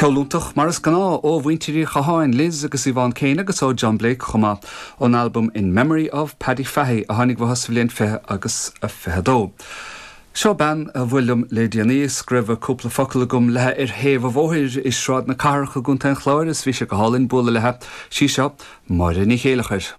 Ceol iontach, mar is gnáth, ó mhuintir Uí Chatháin, Liz agus Yvonne Kane agus ó John Blake chomh maith, ón albam In Memory of Paddy Fahy a tháinig uathu sa bhliain 20 agus 22. Seo bean a bhuail liom le déanaí is go raibh cúpla focal agam léi ar thaobh an bhóthair i Sráid na Cathrach i gContae an Chláir is bhí sé go hálainn bualadh léi. Sí seo Máire Ní Chéileachair.